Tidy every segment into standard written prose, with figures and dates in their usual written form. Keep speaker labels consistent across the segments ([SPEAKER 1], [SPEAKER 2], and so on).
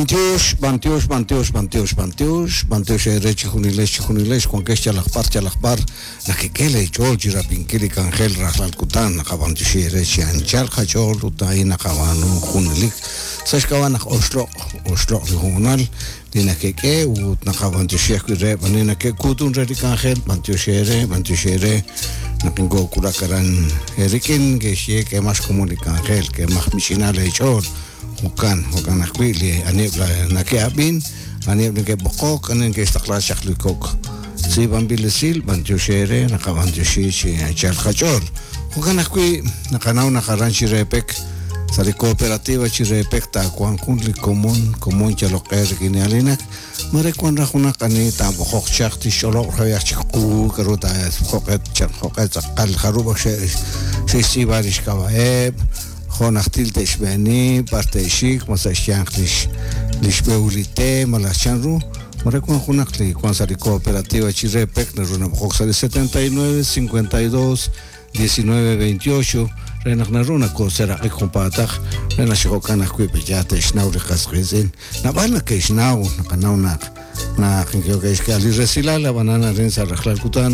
[SPEAKER 1] B'antiox, b'antiox, b'antiox, b'antiox, b'antiox, b'antiox eere chejunilex, chejunilex, wankex yalaq b'ar, yalaq b'ar, nakek'e leech'ool chi rab'inkil li k'anjel rajlal kutan, naqab'antioxi eere chi anchal qach'ool ut a'in naqab'aanu junelik sa' xk'ab'a' naq oxloq', oxloq' li hoonal li nakek'e ut naqab'antioxi ajwi' reheb' ani nake'kuutun re li k'anjel, b'antiox eere, b'antiox eere naq inkoo'wulak aran eerik'in, ke'xye k'eemaq xkomon li k'anjel, k'eemaq mich'ina leech'ool. Jo'kan, jo'kan ajwi' li aniheb' nake'ab'in, aniheb' neke'b'oqok, ani neke'xtaqla chaq li kok' tz'iib'anb'il esil, b'antiox eere, naqab'antioxi chi anchal qach'ool. Jo'kan ajwi' naqanaw naq aran Chirepek, sa' li cooperativa Chirepek taawanq jun li komon, komon yalok q'e rik'in li alinak, mare wan raj junaq ani taab'oqoq chaq tixch'olob' reheb' chik qu k'a'ru ta jo'q'e jo'q'e tz'aqal jarub' ak xe'xtz'iib'a lix k'ab'a'eb', jo' najtil te'xb'eeni, b'ar te'xik, ma sa' xyanq lix lix b'ehul li te, malaj chanru. Mare wan junaq li wan sa' li cooperativa Chirepek naru nab'oqok sa' li 79 52 19 28 re naq naru nakooseraq'ik junpaataq re naq chi jo'kan ajwi' pe'yaal te'xnaw li qas qiitz'in. Naab'al nake'xnaw, naqanaw naq naq neke'xk'e li resilal ab'anan arin sa' rajlal kutan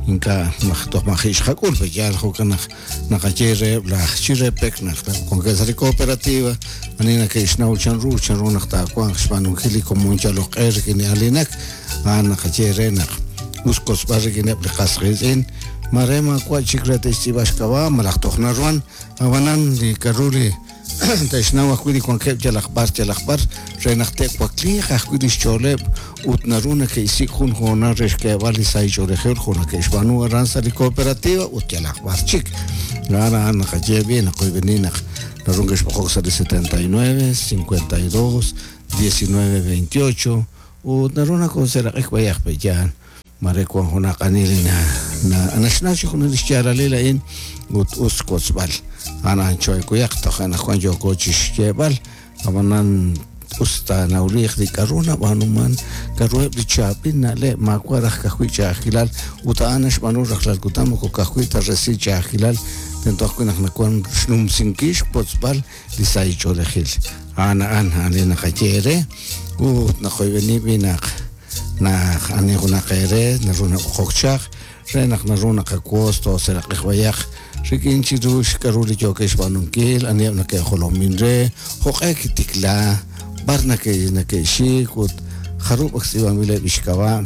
[SPEAKER 1] ink'a' toj maji' xqak'ul pe'yaal jo'kan naq naqaye reheb' laj Chirepek naq wankeb' sa' li cooperativa ani nake'xnaw chanru chanru naq taawanq xb'aanunkil li komon yalok q'e rik'in li alinak a'an naqaye re naq us kotzb'al rik'ineb' li qas qiitz'in mare maawa' chik re te'xtz'iib'a xk'ab'a' malaj toj naruhan ab'anan li k'a'ru li te'xnaw ajwi' li wankeb' yalaq b'ar yalaq b'ar re naq te'wakliiq ajwi' li xch'ooleb' ut naru neke'xsik' jun hoonal re xk'eeb'al li sahil ch'oolejil jo' neke'xb'aanu aran sa' li cooperativa ut yalaq b'ar chik. A'an a'an naqaye b'i' naqoyb'eni naq naru neke'xb'oqok sa' li 79 52 19 28 ut naru nakoonseeraq'ik b'ayaq pe'yaal. Mare wan junaq ani li naxnaw chi junaq li xyaalalil a'in ut us xwotzb'al. A'an a'an cho'ekuyaq toj anaqwan yooko chi xyeeb'al, ab'anan us taanawliiq li k'a'ru nab'aanuman, k'a'ruheb' li chaab'il na'leb' maawa' raj ka'ajwi' ch'a'ajkilal ut a'an naxb'aanu rajlal kutan moko ka'ajwi' ta resil ch'a'ajkilal, tento ajwi' naq nawan xnumsinkil xwotzb'al li sahil ch'oolejil. A'an a'an a'an li naqaye eere ut naqoyb'eni b'i' naq Naq ani junaq eere naru nab'oqok chaq re naq naru naqawotz tooseraq'iq b'ayaq rik'in chiru xk'a'ru li yookeb' xb'aanunkil, aniheb' nake'jolomin re, jo'q'e kitikla, b'ar nake'xik ut jarub' ak tz'iib'anb'ileb' li xk'ab'a'.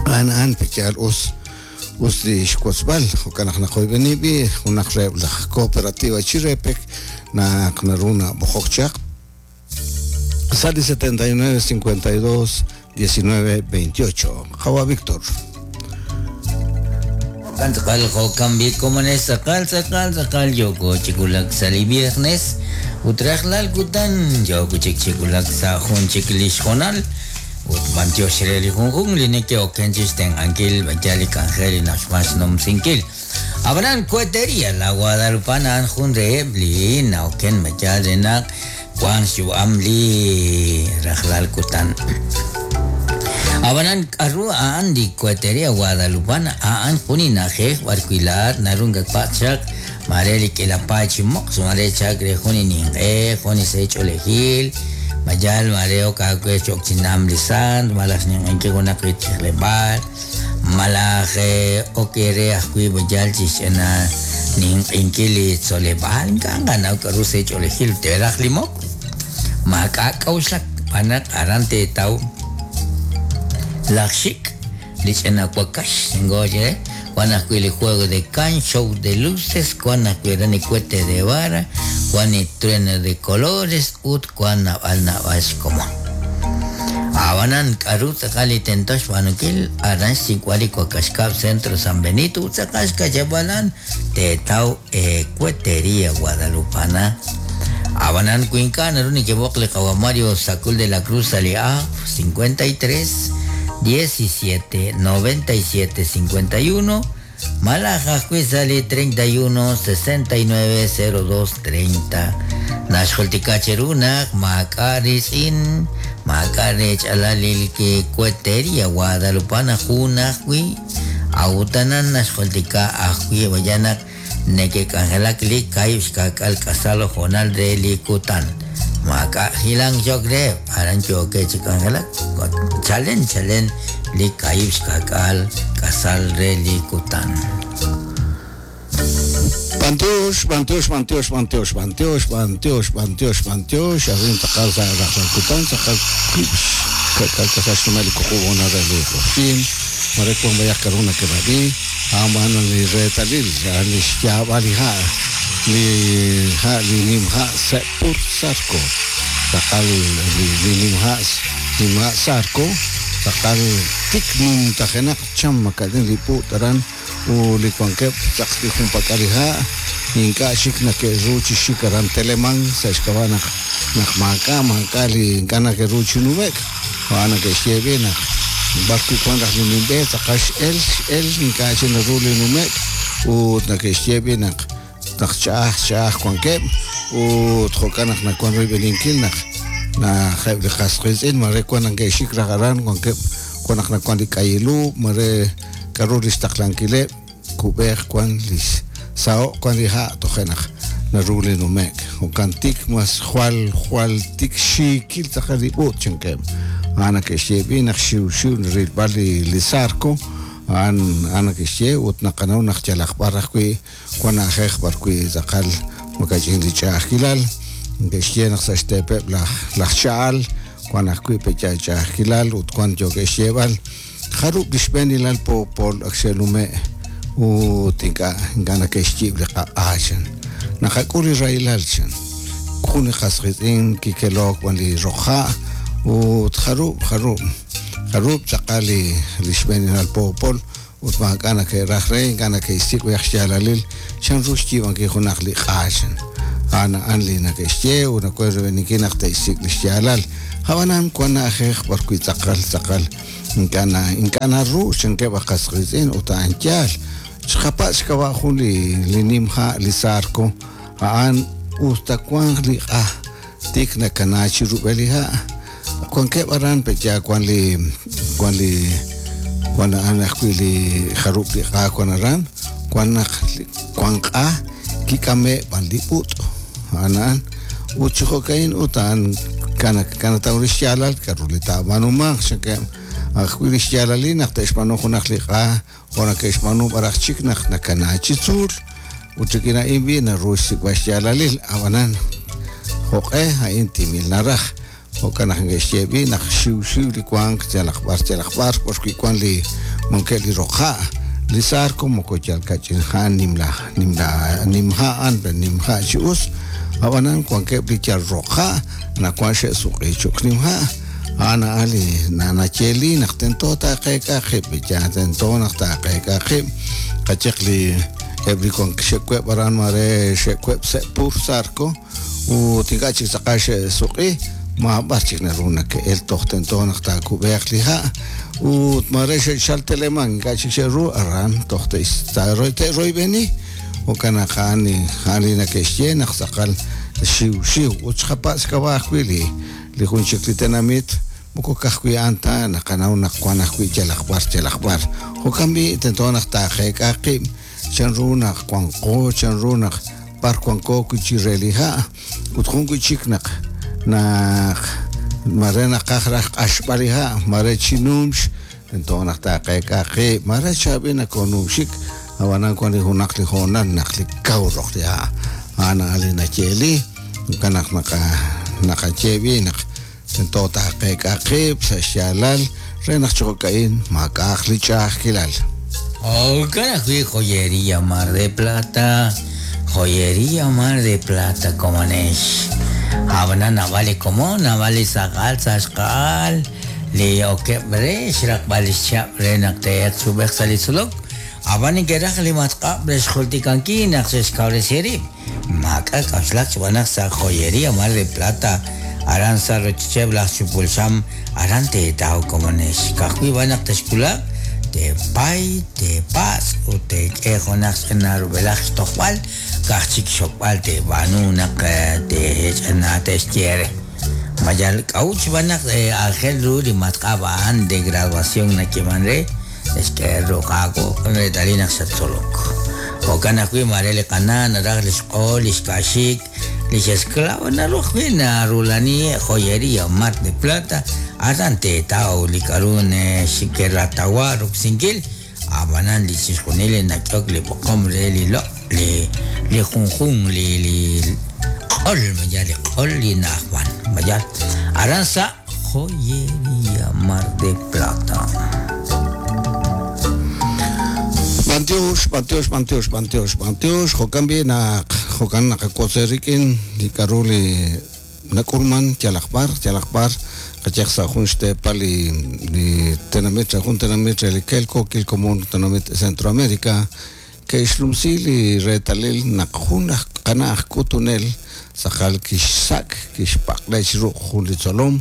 [SPEAKER 1] A'an a'an pe'yaal us us li xwotzb'al, jo'kan naq naqoyb'eni b'i' junaq reheb' laj cooperativa Chirepek naq naru nab'oqok chaq. Sa' li 79 52 19 28. Qawa' Víctor.
[SPEAKER 2] Jo'kan tz'aqal, jo'kan b'i' komonex tz'aqal, tz'aqal, tz'aqal yooko chi wulak sa' li viernes ut rajlal kutan yooko chik chi wulak sa' jun chik li xhoonal ut b'antiox re li junjunq li neke'oken chixtenq'ankil b'ayal li k'anjel li na'uxman xnumsinkil. Ab'anan Cohetería La Guadalupana a'an jun reheb' li na'oken ma yaal re naq wank xyu'am li rajlal kutan. Ab'anan k'aru a'an li Cohetería Guadalupana? A'an jun li na'ajej b'arwi' laa'at naru nakatpatz' chaq maare li k'iila paay chi moqs, maare chalk re jun li ninq'e, jun li sahil ch'oolejil, ma yaal maare ok aawe cho'q chi nam li sant malaj xninq'ehinkil junaq li tijleb'aal. Malaj ok eere ajwi' b'ayal chi xch'ina ninq'inkil li tzoleb'aal, ink'a' nqanaw k'aru sa' ch'oolejil teeraj li mok. Maak'a' k'a'uxlak, xb'aan naq aran teetaw laj xik', li ch'ina wakax, ngoye, wan ajwi' li juego de can, show de luces, wan ajwi' aran li cohete de vara, wan li trueno de colores ut wan naab'al naab'al xkomon. Ab'anan, k'aru tz'aqal li tento xb'aanunkil? Aran xsik'b'al li wakax kab' Centro San Benito ut tz'aqal xka'yab'al a'an teetaw Ecuetería Guadalupana. Ab'anan, wi ink'a' naru nekeb'oq li qawa' Mario Sacul de la Cruz sa' li A 53 17 97 51, Malaj ajwi' sa' li 31 69 02 30. Naxjultika cheru naq maak'a' riitz'in, maak'a' reech'alal li Cohetería Guadalupana jun ajwi', a'ut anan naxjultika ajwi' b'aya naq neke'k'anjelak li kaahib' xka'k'aal k'asal hoonal re li kutan. Maak'a' hilank cho'q reheb', aran yookeb' chi k'anjelak chalen chalen li 20 k'asal re li kutan.
[SPEAKER 1] B'antiox, b'antiox, b'antiox, b'antiox, b'antiox, b'antiox, b'antiox, b'antiox, arin tz'aqal sa' rajlal kutan, tz'aqal wib' xka'k'aal k'asal xnumel li wuqub' honal re li q'oqyink, mare wank b'ayaq k'a'ru neke'rab'i, a'an b'an li reetalil, a'an li xyaab'al li ha', li ha' li nimha' Sepur Zarco, tz'aqal li nimha' nimha' Zarco, tz'aqal tik numtajenaq cham maka'ch'in li put aran. Ut li wankeb' tz'aq li junpak'al li ha', ink'a' chik nake'ru chi xik aran Teleman sa' xk'ab'a' naq naq maak'a' maak'a' li ink'a' nake'ru chi nume'k. A'an nake'xye b'i' naq b'ar wi' wan raj li nimb'e tz'aqal x'el x'el ink'a' chik naru li nume'k ut nake'xye b'i' naq naq ch'a'aj ch'a'aj wankeb' ut jo'kan naq nawan royb'eninkil naq naq eb' li qas qiitz'in mare wan nake'xik raj aran wankeb' wan naq nawan li k'ayilu mare k'aru li xtaqlankileb' kub'eeq wan li xsaho'k wan li ha' toje' naq naru li nume'k jo'kan tik mas jwal jwal tik xiikil tz'aqal li b'ut chankeb' a'an nake'xye b'i' naq xiwxiw rilb'al li li zarco a'an a'an nake'xye ut naqanaw naq yalaq b'ar ajwi' Wan na'ajej b'ar wi' tz'aqal makach'in li ch'a'ajkilal. Neke'xye naq sa' xteepeb' laj laj cha'al wan ajwi' pe'yaal ch'a'ajkilal ut wan yookeb' xyeeb'al jarub' li xb'eenilal poopol ak xe'nume' ut ink'a' ink'a' nake'xyiib' li qaq'a chan. Naqak'ul li rahilal chan. Jun li qas qiitz'in kikelook b'an li roq ha' ut jarub' jarub' jarub' tz'aqal li li xb'eenilal poopol Ut maak'a' nake'raj re, ink'a' nake'xsik' b'ayaq xyaalalil chan ru xyiib'ankil junaq li q'aax. A'an a'an li nake'xye ut nawank royb'eninkil naq te'xsik' li xyaalal. Ab'anan wank na'ajej b'ar wi' tz'aqal tz'aqal ink'a' na ink'a' naru chankeb' aj qas qiitz'in ut a'an yaal. Xqapatz' xk'ab'a' jun li li nim ha' li Zarco a'an us ta wanq li q'a tik nakana chi rub'el li ha'. Wankeb' aran pe'yaal wan li wan li wan a'an ajwi' li jarub' li q'a wan aran, wan naq wan q'a kik'ame' b'an li b'ut' a'an a'an ut chi jo'ka'in ut a'an kanataw li xyaalal k'a'ru li taab'aanumanq chankeb' ajwi' li xyaalalil naq te'xb'aanu junaq li q'a jo' nake'xb'aanu b'araq chik naq nakana chi tzuul ut rik'in a'in b'i' naru xsik'b'al xyaalalil ab'anan jo'q'e a'in timil naraj Jo'kan naq neke'xye b'i' naq xiwxiw li wank yalaq b'ar yalaq b'ar b'ar wi' wank li wankeb' li roq ha'. Li Zarco moko yal kach'in ha' nimla nimla nim ha' a'an pero nim ha' chi us, ab'anan wankeb' li yal roq ha' nawank xe'suq'i cho'q nim ha'. A'an a'an li nayeeli naq tento taaqeek'a qib', yaal tento naq taaqeek'a qib'. Qayehaq li eb' li wank xe'web' aran mare xe'web' sa' pur Zarco, Ut ink'a' chik tz'aqal xe'suq'i, maab'ar chik naru nake'el toj tento naq taakub'eeq li ha'. Ut maare xe'chal Teleman, ink'a' chik xe'ru aran toj te'royb'eni. Jo'kan naq a'an li a'an li nake'xye naq tz'aqal xiwxiw. Ut xqapatz' xk'ab'a' ajwi' li li jun chik li tenamit, moko ka'ajwi' a'an ta, naqanaw naq wan ajwi' yalaq b'ar yalaq b'ar. Jo'kan b'i' tento naq taaqeek'a qib' chan ru naq wanqo, chan ru naq b'ar wanko wi' chi re li ha', ut jun wi' chik naq naq mare naqaj raj q'axb'al li ha', mare chi numx, tento naq taaqeek'a qib', mare chaab'il nakoonumxik, ab'anan wan li junaq li hoonal naq li kaw roq li ha', a'an a'an li nayeeli, jo'kan naq naqa naqaye b'i' naq tento taaqeek'a qib' sa' xyaalal re naq chi jo'ka'in maak'a'aq li ch'a'ajkilal.
[SPEAKER 2] Jo'kan ajwi' Joyería Mar de Plata, Joyería Mar de Plata komonex. Ab'anan naab'al li komon, naab'al li saq'al sa' xqa'al li okeb' re xraqb'al li xchihab' re naq te'elq chi ub'ej sa' li tzolok. Ab'an neke'raj li matq'ab' re xjultikankil naq xe'xkawresi rib'. Maak'a' k'a'uxlak xb'aan naq sa' Joyería Mar de Plata, aran sa' rochocheb' laj chupul xam, aran teetaw komonex. Ka'ajwi' b'an naq texwulaq, teepay, teepatz' ut teek'e junaq ch'ina rub'elaj xtojb'al, ka'aj chik xokb'al teeb'aanu naq teech'ina te'xye re. Ma yal k'a'ut xb'aan naq aajel ru li matq'ab' a'an de graduación nayeeman re? Xk'e ru Qaawa' jun reetalil naq xattzolok. Jo'kan ajwi' maare li qana' naraj li xq'ool, li xka'xik, Lix esclavo naru ajwi' narula'ani Joyería Mar de Plata, aran teetaw li k'a'ru neke'ratawa roksinkil, a'b'anan li chixjunil li nak'ehok li b'oqom re li loq' li li junjunq li li q'ol mayal li q'ol li na'ajman mayal aran sa' Joyería Mar de Plata.
[SPEAKER 1] B'antiox, b'antiox, b'antiox, b'antiox, b'antiox, jo'kan b'i' naq jo'kan naqawotz eerik'in li k'a'ru li nak'ulman yalaq b'ar, yalaq b'ar, qayehaq sa' jun xteepal li li tenamit sa' jun tenamit re li kelkookil komon tenamit Centroamerica ke'xlumsi li reetalil naq jun aj qana' aj k'utunel tz'aqal kixsak' kixpaq'le chi ruq' jun li tzolom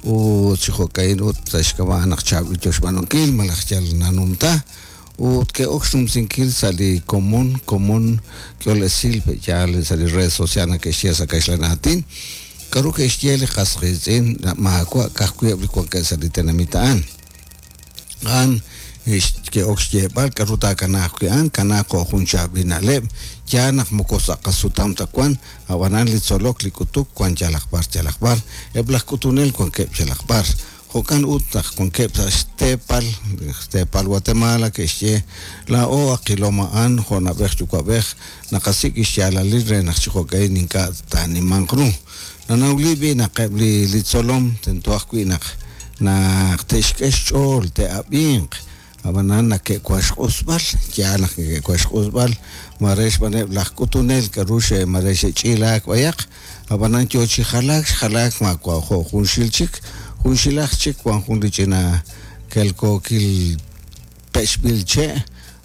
[SPEAKER 1] ut chi jo'ka'in ut sa' xk'ab'a' naq chaab'il yo xb'aanunkil malaj yal nanumta ut ke'ok xnumsinkil sa' li komon komon k'ehol esil pe'yaal sa' li red social nake'xye sa' kaxlan aatin k'a'ru ke'xye li qas qiitz'in maawa' ka'ajwi' eb' li wankeb' sa' li tenamit a'an. A'an ke'ok xyeeb'al k'a'ru taakanaaq wi' a'an kanaaq jo' jun chaab'il na'leb', yaal naq moko sa' qasutam ta wan, a'b'anan li tzolok li k'utuk wan yalaq b'ar yalaq b'ar, eb' laj k'utunel wankeb' yalaq b'ar. Jo'kan ut naq wankeb' sa' xteepal, xteepal Guatemala ke'xye, laa'o ak qilom a'an jo' na'b'ej yuwa'b'ej, naqasik' xyaalalil re naq chi jo'ka'in ink'a' taanimanq ru. Nanawli b'i' naq eb' li li tzolom tento ajwi' naq naq te'xk'e xch'ool, te'ab'inq, ab'anan nake'wan xq'usb'al, yaal naq neke'wan xq'usb'al, mare xb'aaneb' laj k'utunel k'a'ru xe mare xe'ch'ilaak b'ayaq, ab'anan yo chi jalaak xjalaak maawa' jo' junxil chik, junxilaj chik wan jun li ch'ina kelkookil pech'b'il che',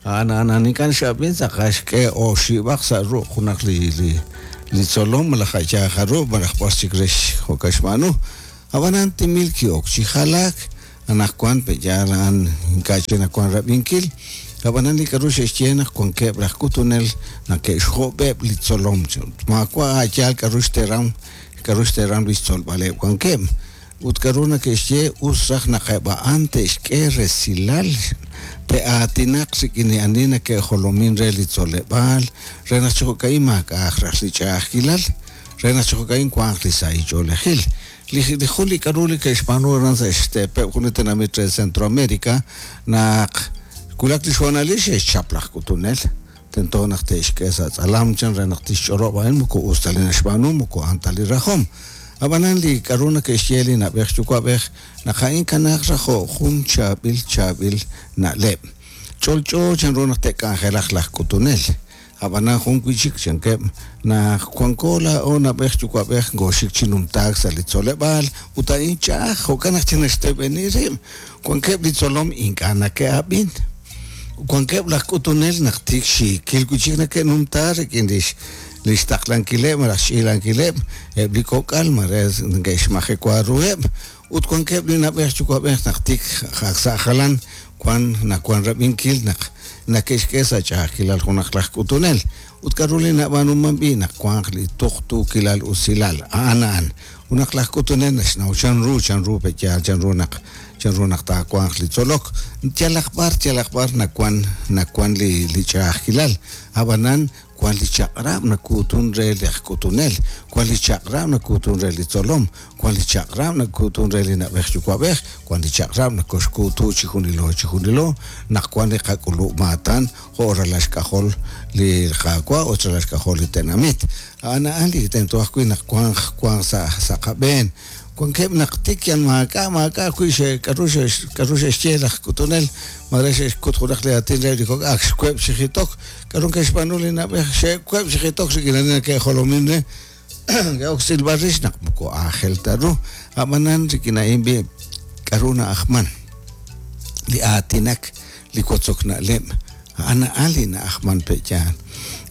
[SPEAKER 1] a'an a'an ink'a' x'ab'in tz'aqal xk'e oxib'aq sa' ruq' junaq li li li tzolom malaj a' yaal jarub' malaj b'ar chik re jo'kan xb'aanu. Ab'anan timil ki'ok chi jalaak, anaqwan pe'yaal a'an ink'a' chik nawan rab'inkil, ab'anan li k'a'ru xe'xye naq wankeb' laj k'utunel nake'xjob'eb' li tzolom, maawa' a' yaal k'a'ru xteram k'a'ru xteram li xtzolb'aleb' wankeb', ut k'a'ru nake'xye us raj naq eb' a'an te'xk'e resilal, te'aatinaq rik'in li ani nake'jolomin re li tzoleb'aal re naq chi jo'ka'in maak'a'aq raj li ch'a'ajkilal, re naq chi jo'ka'in wanq li sahil ch'oolejil. Li li jun li k'a'ru li ke'xb'aanu aran sa' xteepeb' jun li tenamit re Centroamerica naq wulak li xhoonalil xe'xchap laj k'utunel, tento naq te'xk'e sa' tz'alam chan re naq tixch'olob' a'in moko us ta li naxb'aanu moko a'an ta li rajom. Ab'anan li k'a'ru nake'xye li na'b'ej yuwa'b'ej naq a'in kanaaq raj jo' jun chaab'il chaab'il na'leb'. Ch'olch'o chanru naq te'k'anjelaq laj k'utunel. Ab'anan jun wi' chik chankeb' naq wanko laa'o na'b'ej yuwa'b'ej ngooxik chi numtaak sa' li tzoleb'aal ut a'in ch'a'aj jo'kan naq chi naxteb'eni rib' wankeb' li tzolom ink'a' nake'ab'in. Wankeb' laj k'utunel naq tik xiikil wi' chik nake'numta rik'in lix lix taqlankileb' malaj xch'iilankileb' eb' li kok'al mare neke'xmajewa ruheb' ut wankeb' li na'b'ej yuwa'b'ej naq tik ak sa' jalan wan nawan rab'inkil naq nake'xk'e sa' ch'a'ajkilal junaq laj k'utunel ut k'a'ru li nab'aanuman b'i' naq wanq li tuqtuukilal usilal a'an a'an junaq laj k'utunel naxnaw chanru chanru pe'yaal chanru naq chanru naq taawanq li tzolok yalaq b'ar yalaq b'ar nawan nawan li li ch'a'ajkilal ab'anan wan li chaq'rab' nakuutun re laj k'utunel, wan li chaq'rab' nakuutun re li tzolom, wan li chaq'rab' nakuutun re li na'b'ej yuwa'b'ej, wan li chaq'rab' nakoxkuutu chi junilo chi junilo naq wan li qak'ulub' maatan jo' ralal xk'ajol li Qaawa' ut ralal xk'ajol li tenamit. A'an a'an li tento ajwi' naq wanq wanq sa' sa' qab'een. Wankeb' naq tik yal maak'a' maak'a' ajwi' xe k'a'ru xe k'a'ru xe'xye laj k'utunel mare xe'xkut junaq li aatin re li kok' ak xweb' chi jitok, k'a'ru ke'xb'aanu li na'b'ej xe'web' chi jitok rik'in ani nake'jolomin re ke'ok xtz'ilb'al rix naq moko aajel ta ru, ab'anan rik'in a'in b'i' k'a'ru na'ajman li aatinak, li wotzok na'leb', a'an a'an li na'ajman pe'yaal.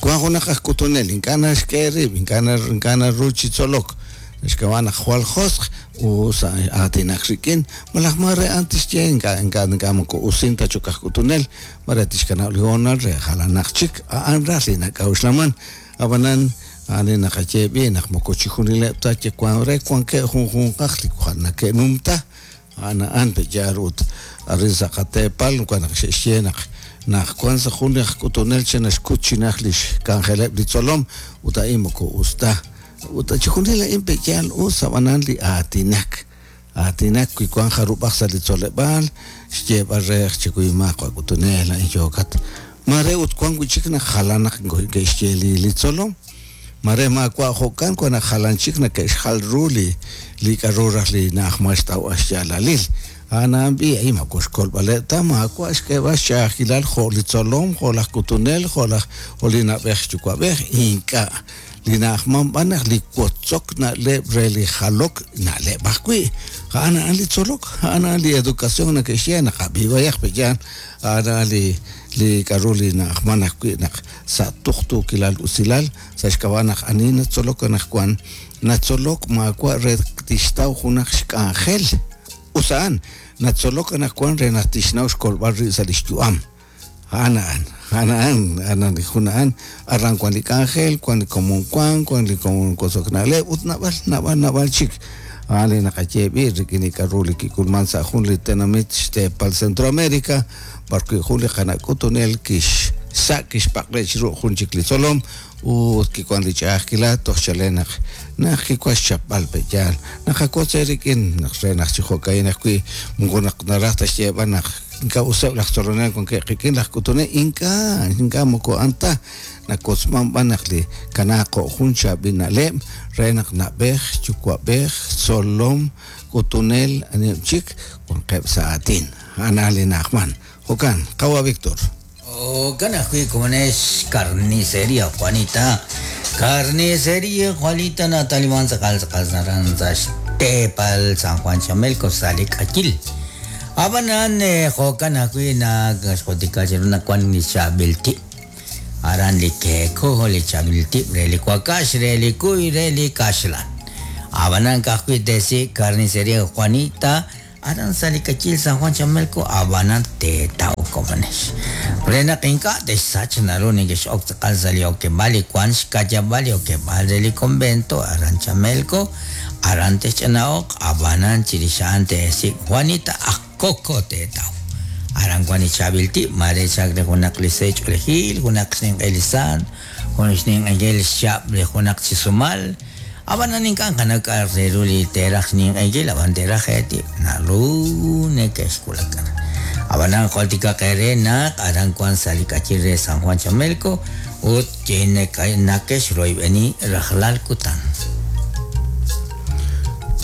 [SPEAKER 1] Wan junaq aj k'utunel ink'a' naxk'e rib', ink'a' ink'a' naru chi tzolok, xk'ab'a' naq jwal josq' us aatinak rik'in, malaj mare a'an tixye ink'a' ink'a' ink'a' moko usin ta cho'q aj k'utunel, mare tixkanab' li hoonal re jalanaq chik, a'an raj li nak'a'uxlaman, ab'anan a'an li naqaye b'i' naq moko chijunileb' ta wan re wankeb' junjunqaq li jwal nake'numta, a'an a'an pe'yaal ut arin sa' qateepal wan naq xe'xye naq naq wan sa' jun aj k'utunel che naxkut chi najt li xk'anjeleb' li tzolom ut a'in moko us ta. Ut chixjunil a'in pe'yaal us ab'anan li aatinak. Aatinak wi wank jarub'aj sa' li tzoleb'aal, xyeeb'al re chikuyumaq wa k'utunel a'in yookat. Mare ut wank wi' chik naq jalan naq ke'xye li tzolom. Mare maawa' jo'kan wan naq jalan chik nake'xjal ru li k'aru raj li na'ajman xtawb'al xyaalalil. A'an a'an b'i' a'in moko xkolb'aleb' ta maawa' xk'eeb'al xch'a'ajkilal jo' li tzolom, jo' laj k'utunel, jo' laj jo' li na'b'ej yuwa'b'ej, ink'a'. Li na'ajman b'an naq li wotzok na'leb' re li jalok na'leb' ajwi'. A'an a'an li tzolok, a'an a'an li educación nake'xye naqab'i b'ayaq pe'yaal, a'an a'an li li k'aru li na'ajman ajwi' naq sa' tuqtuukilal usilal sa' xk'ab'a' naq ani natzolok anaqwan natzolok maawa' re tixtaw junaq xk'anjel. Us a'an, natzolok anaqwan re naq tixnaw xkolb'al rib' sa' li xyu'am. A'an a'an, a'an a'an, a'an li jun a'an, aran wan li k'anjel, wan li komon wank, wan li komon wotzok na'leb' ut naab'al, naab'al, naab'al chik. A'an li naqaye b'i' rik'in li k'aru li kik'ulman sa' jun li tenamit xteepal Centroamérica, b'arwi' jun li qana' k'utunel kixsa' kixpaq'le chiru jun chik li tzolom ut kiwan li ch'a'ajkilal toj chalen naq naq kiwan xchapb'al pe'yaal. Naqawotz eerik'in naq re naq chi jo'ka'in ajwi' moko naq naraj ta xyeeb'al naq ink'a' useb' laj tzolonel wankeb' qik'in laj k'utunel, ink'a', ink'a' moko a'an ta. Nawotzman b'an naq li kanaaq jo' jun chaab'il na'leb' re naq na'b'ej, yuwa'b'ej, tzolom, k'utunel, aniheb' chik wanqeb' sa' aatin. A'an a'an li na'ajman. Jo'kan, qawa' Víctor.
[SPEAKER 2] Jo'kan ajwi' komonex Carnicería Juanita. Carnicería Juanita nataliman tz'aqal tz'aqal aran sa' xteepal San Juan Chamelco sa' li k'ayil. Ab'anan jo'kan ajwi' nakxjultika chiru naq wan li chaab'il tib'. Aran li keeko, li chaab'il tib' re li wakax, re li kuy, re li kaxlan. Ab'anan ka'ajwi' teesik' Carnicería Juanita aran sa' li k'ayil San Juan Chamelco, ab'anan teetaw komonex. Re naq ink'a' te'xsach naru nekex'ok tz'aqal sa' li okeb'aal li wank xka'yab'al li okeb'aal re li convento aran Chamelco, aran texch'ana'oq, ab'anan chirix a'an teesik' Juanita aj Koko teetaw. Aran wank li chaab'il tib', maare chalk re junaq li sahil ch'oolejil, junaq xninq'e li saant, jun xninq'enkil xchihab' li junaq chi sumal. Ab'anan ink'a' nqanaw k'a' re ru li teeraj xninq'enkil, ab'an teeraj eetib', naru neke'xwulak aran. Ab'anan jultikaq eere naq aran wank sa' li k'ayil re San Juan Chamelco ut nakexroyb'eni rajlal kutan.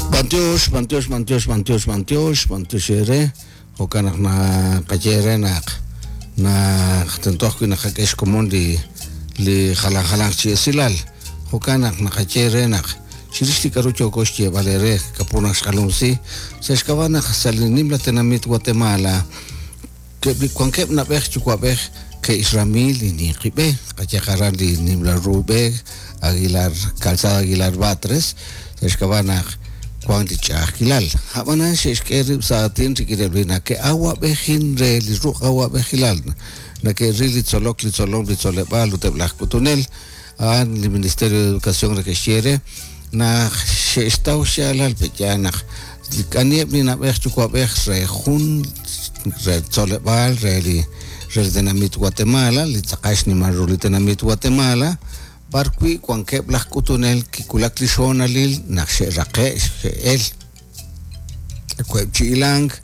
[SPEAKER 1] B'antiox, b'antiox, b'antiox, b'antiox, b'antiox, b'antiox eere. Jo'kan naq naqaye eere naq naq tento ajwi' naqak'e xkomon li li jalan jalanq chi esilal. Jo'kan naq naqaye eere naq chirix li k'aru yooko xyeeb'al eere kapu naq xqanumsi sa' xk'ab'a' naq sa' li nimla tenamit Guatemala eb' li wankeb' na'b'ej yuwa'b'ej ke'xrami li ninqi b'e, qayehaq aran li nimla ru b'e Aguilar, Calzada Aguilar Batres, sa' xk'ab'a' naq wank li ch'a'ajkilal. Ab'anan xe'xk'e rib' sa' aatin rik'ineb' li nake'awab'ejin re li ruq' awab'ejilal, nake'ril li tzolok, li tzolom, li tzoleb'aal ut eb' laj k'utunel, a'an li Ministerio de Educación nake'xye re naq xe'xtaw xyaalal pe'yaal naq aniheb' li na'b'ej yuwa'b'ej re jun re tzoleb'aal re li re li tenamit Guatemala, li tz'aqal xnimal ru li tenamit Guatemala, b'arwi' wankeb' laj k'utunel kiwulak li xhoonalil naq xe'raqe' xe'el web' chi hilank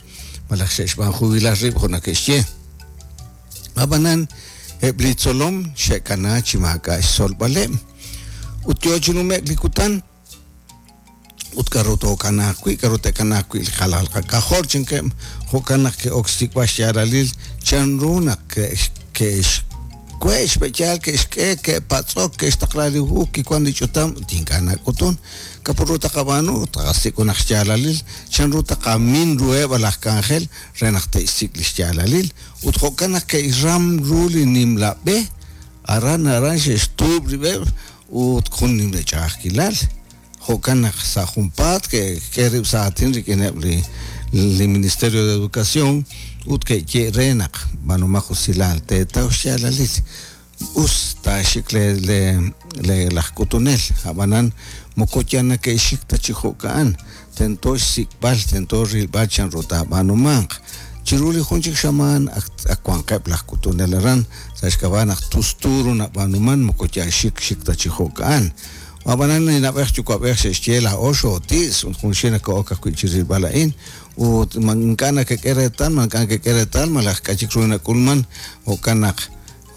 [SPEAKER 1] malaj xe'xb'aan jubilal rib' jo' nake'xye. Ab'anan eb' li tzolom xe'kana chi maak'a' xtzolb'aleb'. Ut yo chi nume'k li kutan ut k'aru tookanaaq wi', k'aru te'kanaaq wi' li qalal qak'ajol chankeb', jo'kan naq ke'ok xsik'b'al xyaalalil chanru naq ke'xwe' xb'eyaal, ke'xk'e, ke'patz'ok, ke'xtaqla li hu, kiwan li ch'utam ut ink'a' nak'utun. K'aru ru taqab'aanu? Taqasik' junaq xyaalalil chanru taqamin ruheb' laj k'anjel re naq te'xsik' li xyaalalil. Ut jo'kan naq ke'xram ru li nimla b'e, aran aran xe'xtuub' rib'eb' ut jun nimla ch'a'ajkilal. Jo'kan naq sa' junpaat ke'xk'e rib' sa' aatin rik'ineb' li li Ministerio de Educación ut ke'ye re naq b'aanumaq usilal teetaw xyaalalil. Us taaxik le le le laj k'utunel, ab'anan moko yal nake'xik ta chi jo'ka'an, tento xsik'b'al, tento rilb'al chanru taab'aanumanq. Chiru li jun chik xamaan ak ak wanqeb' laj k'utunel aran, sa' xk'ab'a' naq tustu ru nab'aanuman moko yal xik xik ta chi jo'ka'an. Ab'anan li na'b'ej yuwa'b'ej xe'xye laa'o xooti's ut junxil nako'ok ajwi' chi rilb'al a'in ut ma ink'a' nakek'e reetal ma ink'a' nakek'e reetal malaj k'a' chik ru nak'ulman jo'kan naq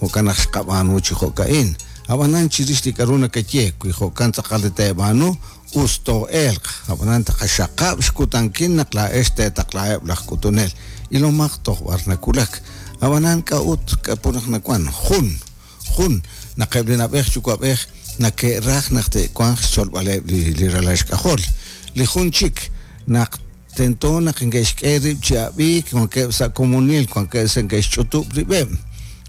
[SPEAKER 1] jo'kan naq xqab'aanu chi jo'ka'in. Ab'anan chirix li k'a'ru nakaye wi jo'kan tz'aqal li teeb'aanu us too'elq. Ab'anan taqaxaqab' xkutankil naq laa'ex teetaqlaheb' laj k'utunel. Ilomaq toj b'ar nawulak. Ab'anan k'a'ut k'a'put naq nawan jun jun naq eb' li na'b'ej yuwa'b'ej nake'raj naq te'wanq xtzolb'aleb' li ralal xk'ajol. Li jun chik naq tento naq neke'xk'e rib' chi ab'iik wankeb' sa' komonil wankeb' sa' neke'xch'utub' rib'eb'.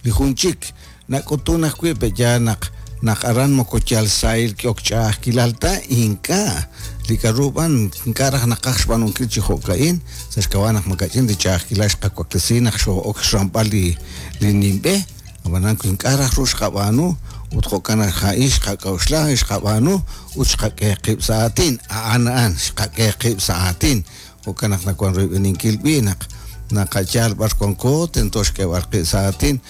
[SPEAKER 1] Li jun chik nak'utun ajwi' pe'yaal naq naq aran moko yal sahil k'ehok ch'a'ajkilal ta ink'a' li k'a'ru b'an ink'a' raj naqaj xb'aanunkil chi jo'ka'in sa' xk'ab'a' naq makach'in li ch'a'ajkilal xqawaklesi naq xoo'ok xramb'al li li nimb'e ab'anan wi ink'a' raj ru xqab'aanu ut jo'kan naq a'in xqak'a'uxla xqab'aanu ut xqak'e qib' sa' aatin a'an a'an xqak'e qib' sa' aatin jo'kan naq nawan royb'eninkil b'i' naq naqayal b'ar wanko tento xk'eeb'al qib' sa' aatin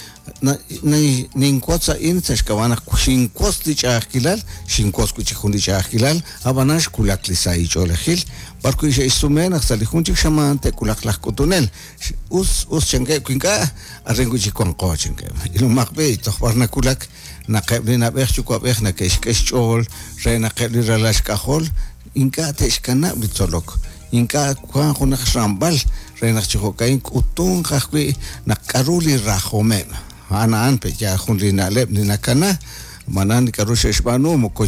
[SPEAKER 1] ninwotz a'in sa' xk'ab'a' naq xinwotz li ch'a'ajkilal xinwotz wi' chik jun li ch'a'ajkilal ab'anan xwulak li sahil ch'oolejil b'ar wi' xe'xsume naq sa' li jun chik xamaan te'wulaq laj k'utunel us us chankeb' wi ink'a' arin wi' chik wanqo chankeb' ilomaq b'i' toj b'ar nawulak naq eb' li na'b'ej yuwa'b'ej nake'xk'e xch'ool re naq eb' li ralal xk'ajol ink'a' te'xkanab' li tzolok ink'a' wan junaq xramb'al re naq chi jo'ka'in k'utunq ajwi' naq k'a'ru li rajomeb' a'an a'an pe'yaal jun li na'leb' li nakana ab'anan li k'a'ru xe'xb'aanu moko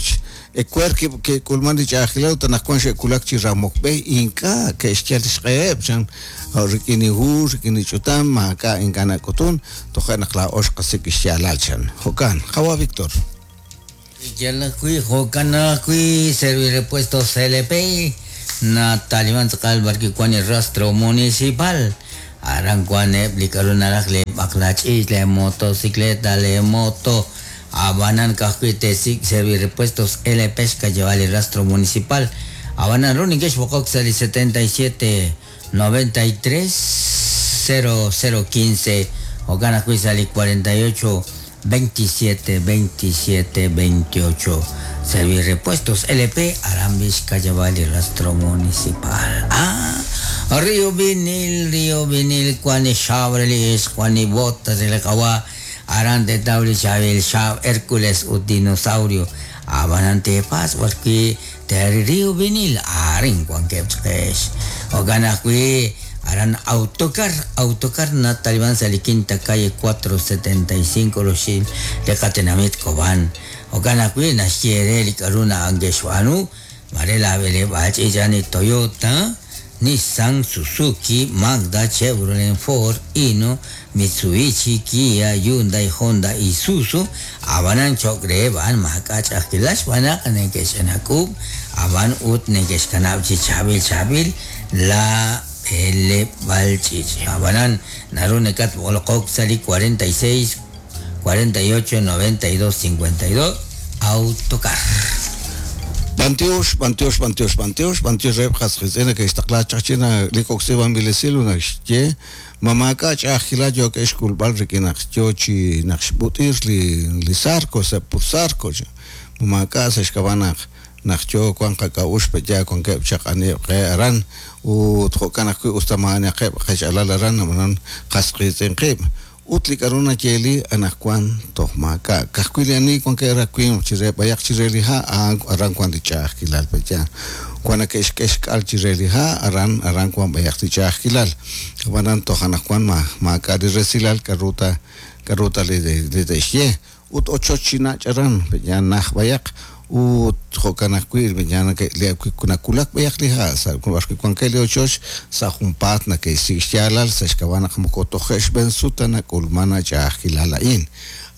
[SPEAKER 1] ewer ke'k'ulman li ch'a'ajkilal ut anaqwan xe'wulak chi ramok b'e ink'a' ke'xyal xq'eheb' chan rik'in li hu rik'in li ch'utam maak'a' ink'a' nak'utun toje' naq laa'o xqasik' xyaalal chan jo'kan qawa' Víctor.
[SPEAKER 2] Yal ajwi' jo'kan ajwi' Servirepuestos LP nataliman tz'aqal b'ar wan li rastro municipal aran wan eb' li k'a'ru naraj li b'aqlach'iich' li motocicleta li moto ab'anan ka'ajwi' te'sik' Servirepuestos LP xk'ayeb'al li rastro municipal ab'anan ru neke'xb'oqok sa' li 77 93 0015 jo'kan ajwi' sa' li 48 27 27 28 Servirepuestos LP Arambis Cayabal y Rastro Municipal. Ah, Río Vinil, Río Vinil, Juan Chabrelis, Juan y Botas, el Kawa, Arante Tauli, Chabel, Chab, Hércules, u Dinosaurio, Abanante Paz, porque Terry Río Vinil, Arin, Juan Kepchesh, Oganakui, Aran autocar, autocar na Talibán sali quinta calle 475 Roshil, Lecatenamit Cobán. Okanakui na Xierel Karuna Angeshwanu, Marela Bele Bachillani Toyota, Nissan, Suzuki, Mazda, Chevrolet, Ford, Hino, Mitsubishi, Kia, Hyundai, Honda, Isuzu, Abanan Chokre, Van Makach, Aquilash, Banak, Nekeshanakub, Aban Ut, Nekeshanab, Chabil, Chabil, La L. Balchich. Abanan, Narunecat, Bolokok, Sali 46, 48, 92, 52, Autocar.
[SPEAKER 1] Bantiox, bantiox, bantiox, bantiox, bantiox reheb' qasqitz'in nake'xtaqla chaq chi li kok'si b'anb'ilesil ut naxye mamaak'a' ch'a'ajkilal yookeb' xk'ulb'al rik'in naq yo chi naq xb'ut'ir li sarco sa' pur sarco mamaak'a' sa' xk'ab'a' naq naq yo wan qak'a'uxl pe'yaal wankeb' chaq aniheb' qe aran ut jo'kan ajwi' us ta ma'anaqeb' qech'alal aran ab'anan qasqitz'in qib' ut li k'a'ru nayeeli anaqwan toj maak'a' ka'ajwi' li ani wankeb' rawimq chire b'ayaq chire li ha' a'an aran wan li ch'a'ajkilal pe'yaal wan nake'xk'e xk'al chire li ha' aran aran wan b'ayaq li ch'a'ajkilal ab'anan toj anaqwan ma maak'a' li resilal k'a'ru ta k'a'ru ta li te'xye ut ochoch chi nach' aran pe'yaal naj b'ayaq ut jo'kan ajwi' pe'yaal nakulak b'ayaq li ha' sa' b'ar wi' wankeb' li ochoch sa' junpaat nake'xsik' xyaalal sa' xk'ab'a' naq moko toje' xb'een sut ta nak'ulman ach'a'ajkilal a'in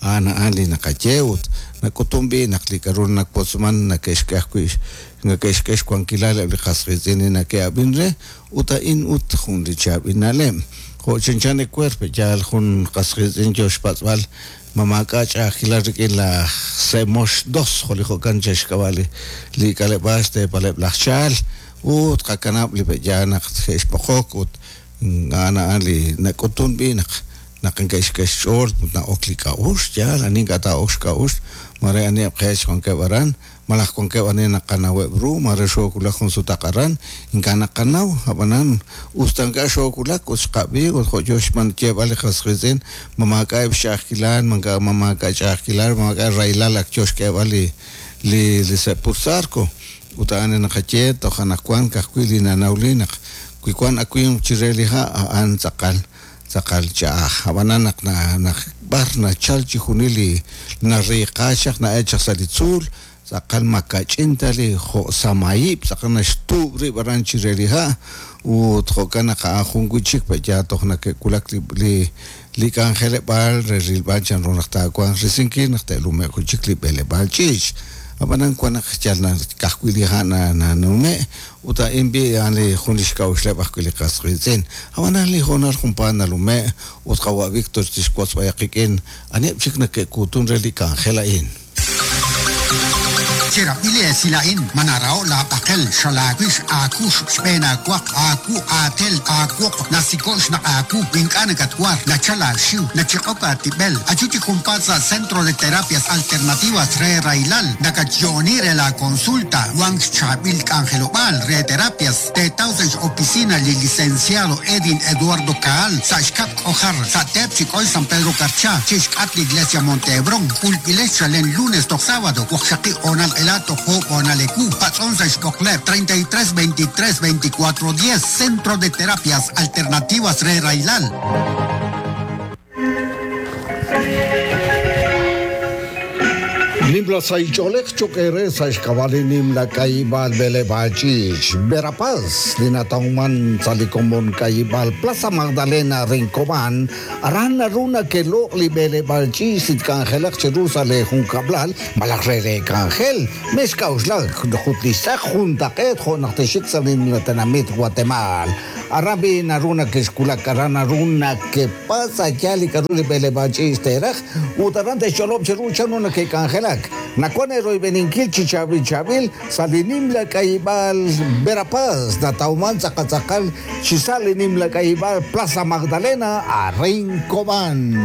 [SPEAKER 1] a'an a'an li naqaye ut nak'utun b'i' naq li k'a'ru nawotzman nake'xk'e ajwi' nake'xk'e xwankilal eb' li qasqitz'in li nake'ab'in re ut a'in ut jun li chaab'il na'leb' jo' chanchan ewer pe'yaal jun qasqitz'in yo xpatz'b'al mamaak'a' ch'a'ajkilal rik'in laj Semox 2 jo' li jo'kan xk'ab'a' li k'aleb'aal xteepaleb' laj Chaal ut qakanab' li pe'yaal naq xe'xb'oqok ut a'an a'an li nak'utun b'i' naq naq neke'xk'e xch'ool ut na'ok li k'a'uxl yaal ani ink'a' taa'ok xk'a'uxl mare aniheb' qeech wankeb' aran Malaj wankeb' ani naqanaweb' ru, mare xoowulak jun sutaq aran, ink'a' naqanaw, ab'anan us ta ink'a' xoowulak ut xqab'i ut jo' yo xyeeb'al li qas qiitz'in, ma maak'a'eb' xch'a'ajkilal, ma maak'a' ch'a'ajkilal, ma maak'a' rahilal ak yo xk'eeb'al li li li sepur Zarco. Ut a'an li naqaye toj anaqwan ka'ajwi' li nanawli naq wi wan awimq chire li ha' a'an tz'aqal tz'aqal ch'a'aj. Ab'anan naq naq b'ar nachal chixjunil li nariiqa chaq na'el chaq sa' li tzuul, tz'aqal ma kach'in ta li jo' samaayib' tz'aqal naxtuub' rib' aran chire li ha' ut jo'kan naq a'an jun wi' chik pe'yaal toj nake'wulak li li li k'anjeleb'aal re rilb'al chanru naq taawanq risinkil naq te'lume'q wi' chik li b'eleb'aal ch'iich'. Ab'anan wan naq yal ka'ajwi' li ha' nanume' ut a'in b'i' a'an li jun li xk'a'uxleb' ajwi' li qas qiitz'in. Ab'anan li hoonal junpaat nalume' ut qawa' Victor tixwotz b'ayaq qik'in aniheb' chik nake'kuutun re li k'anjel a'in.
[SPEAKER 3] Cherab'i li esil a'in, ma naraho' laab'aqel, xalaawix, aakux, xb'een aawaq, aawu, aatel, aawoq, nasiko' xnaq' aawu, ink'a' nakatwar, nachal aaxiw, nachiq'ok aatib'el. Ayu chi junpaat sa' Centro de Terapias Alternativas re Rahilal, nakatyo'oni re laakonsulta, wank xchaab'il k'anjelob'aal re terapias, teetaw sa' x'opisina li Licenciado Edin Eduardo Caal sa' xkab' k'ojar, sa' teep chi k'oy San Pedro Carchá, chi xk'atq li Iglesia Monte Hebrón, k'ulb'ilex chalen lunes toj sábado, waqxaqib' hoonal q'ela toj oob' hoonal ewu, patz'on sa' xb'oqleb' 33 23 24 10, Centro de Terapias Alternativas re Rahilal.
[SPEAKER 1] Nimla sahil ch'oolej cho'q eere sa' xk'ab'a' li nimla k'ayib'aal b'eleb'aal ch'iich' Verapaz li natawman sa' li komon k'ayib'aal Plaza Magdalena Rincobán, aran naru nake'loq' li b'eleb'aal ch'iich' li tk'anjelaq cheru sa' leejunkab'lal malaj re leek'anjel. Mexk'a'uxlak ut li xtz'aq juntaq'eet jo' naq texxik sa' li nimla tenamit Watemaal. Aran b'i' naru nakexwulak, aran naru nakepatz' a' yaal li k'a'ru li b'eleb'aal ch'iich' teeraj, ut aran te'xch'olob' cheru chanru nake'k'anjelak. Nawank eeroyb'eninkil chi chaab'il chaab'il sa' li nimla k'ayib'aal Verapaz, natawman tz'aqal tz'aqal chi sa' li nimla k'ayib'aal Plaza Magdalena, arin Cobán.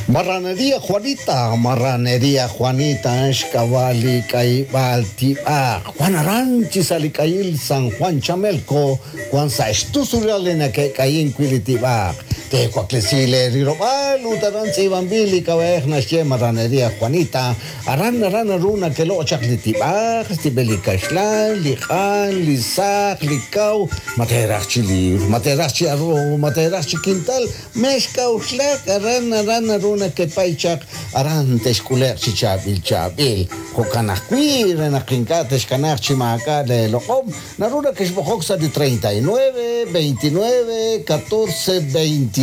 [SPEAKER 1] Marraneria Juanita, Marraneria Juanita, xk'ab'a' li k'ayib'aal tib'aq. Wan aran chi sa' li k'ayil San Juan Chamelco, wan sa' xtusulal li nake'k'ayink wi' li tib'aq. Teewaklesi leerilob'aal ut aran tz'iib'anb'il li k'ab'a'ej naxye Marraneria Juanita. Aran aran naru nakeloq' chaq li tib'aq, xtib'el li kaxlan, li q'an, li saq, li kaw, ma teeraj chi liibr, ma teeraj chi arroz, ma teeraj chi kintal, Mexk'a'uxlak, aran aran naru nakepay chaq, aran texk'ule'q chi chaab'il chaab'il. Jo'kan ajwi', re naq ink'a' texkanaaq chi maak'a' leeloq'om, naru nakexb'oqok sa' li 39, 29, 14, 22.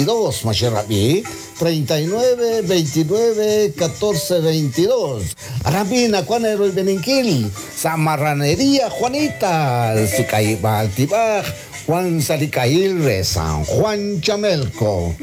[SPEAKER 1] Ma xerab'i? 39, 29, 14, 22. Aran b'i' nawank eeroyb'eninkil sa' Marraneria Juanita, si k'ayib'aal tib'aj. Wan sa' li k'ahil re San Juan Chamelco.